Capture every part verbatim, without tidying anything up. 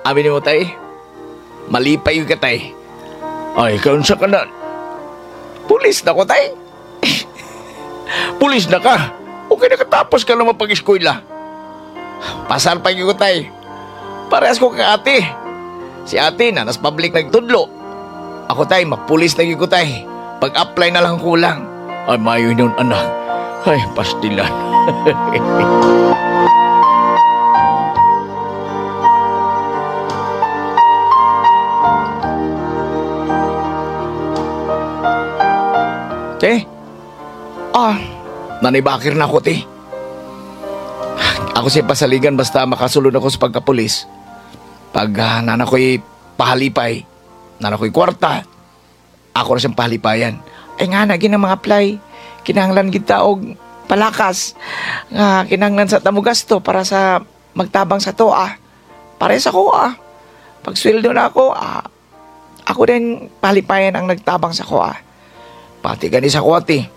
Abi nimo, tay. Malipay ka, tay. Ay, kaunsa ka na. Pulis na ko, tay. Pulis na ka. Okay, nakatapos ka naman pag-eskwela. Pasar pa ko, tay. Parehas ko kay ate. Si ate na, nas public nagtudlo. Ako, tay, mapulis na gyud ko, tay. Pag-apply na lang kulang. Ay, mayo yun, anak. Ay, pastilan. Te? Ah, nanibakir na ako, te. Ako siya pasaligan basta makasulod ako sa pagkapulis. Pag uh, nana ko'y pahalipay, nana ko'y kwarta, ako na siyang pahalipayan. Ay nga na ginang mga apply. Kinahanglan kita og palakas. Nga kinahanglan sa tamo gasto para sa magtabang sa toa. Para sa ko ah. Pag sweldo na ako, ah, ako din pahalipayan ang nagtabang sa ko ah. Pati gani sa ko, ate.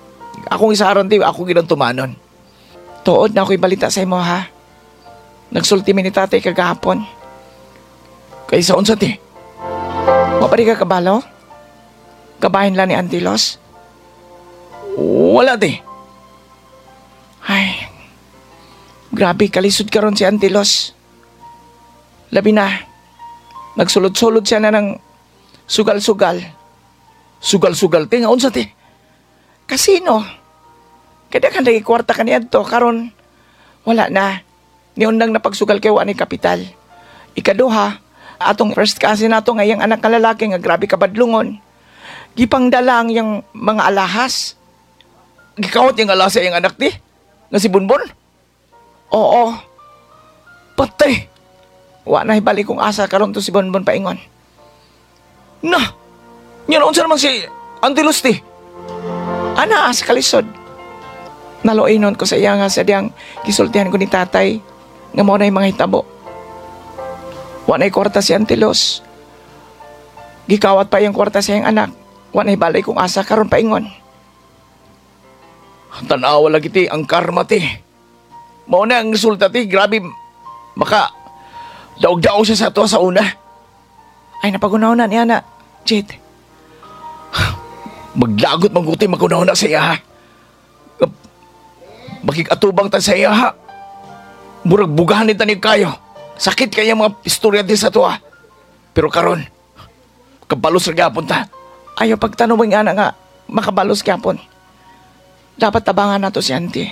Akong isaron, te, ako ginang tumanon. Tuod na ako'y balita sa imo ha. Nagsulti mi ni tatay kagahapon. Kaysa unsa, te? Wa pa di ka kabalo? Kabahin lang ni Auntie Los? Wala, te. Ay, grabe, kalisod karon si Auntie Los. Labi na, nagsulod-sulod siya na ng sugal-sugal. Sugal-sugal, te. Nga unsa, te? Kasino? Kada ka kwarta ka niadto, karon wala na. Niundang napagsugal kay wa ni kapital. Ikaduha, atong first cousin nato nga iyang anak nga lalaki nga grabe kabadlungon. Gipangdala ang iyang mga alahas. Gikawat yung alasa yung anak, te? Nga si Bonbon? Oo, Patay. wa na hibalik kong asa karon to si Bonbon paingon. Na! Yan, unsa naman si Auntie Luz, te? Ana sa kalisod. Naloinon ko sa iya nga sa diyang gisultihan ko ni tatay nga mao na yung mga hitabo. Wa na'y kwarta si Auntie Luz. Gikawat pa iyang kwarta sa iyang anak. Wa na'y balay kong asa karon paingon. Tanawa lagi, te, ang karma, te. Mao na ang resulta, te. Grabe, maka daog-daog siya sa ato sa una. Ay napagunaw na niya na, Jade. Maglagot maguti magunaw na sa iya, ha. Makikatubang ta sa iya, ha. Murag bugahan ni tanig kayo. Sakit kaya mga istorya din sa tuwa. Pero karon, kabalos ra gyapon ta. Ayaw pagtanong nga na nga makabalos gyapon. Dapat tabangan nato si Auntie.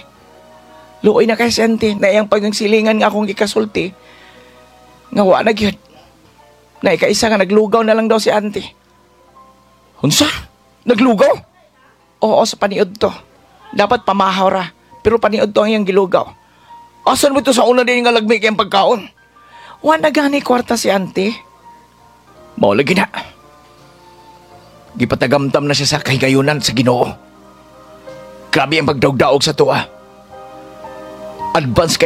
Luoy na kay si Auntie na iyang pagsilingan nga akong gikasulti. Nga wa na gyud. Na ikaisa nga naglugaw na lang daw si Auntie. Unsa? Naglugaw? Oo, sa paniud to. Dapat pamahaw ra. Pero paniud to ang iyang gilugaw. Asan mo ito sa una din nga lagmi kayang pagkaon? Wa na gani kwarta si Auntie. Mao lagi na. Gipatagamtam na siya sa kahigayunan sa Ginoo. Grabe ang pagdaog-daog sa tuwa. Advance kay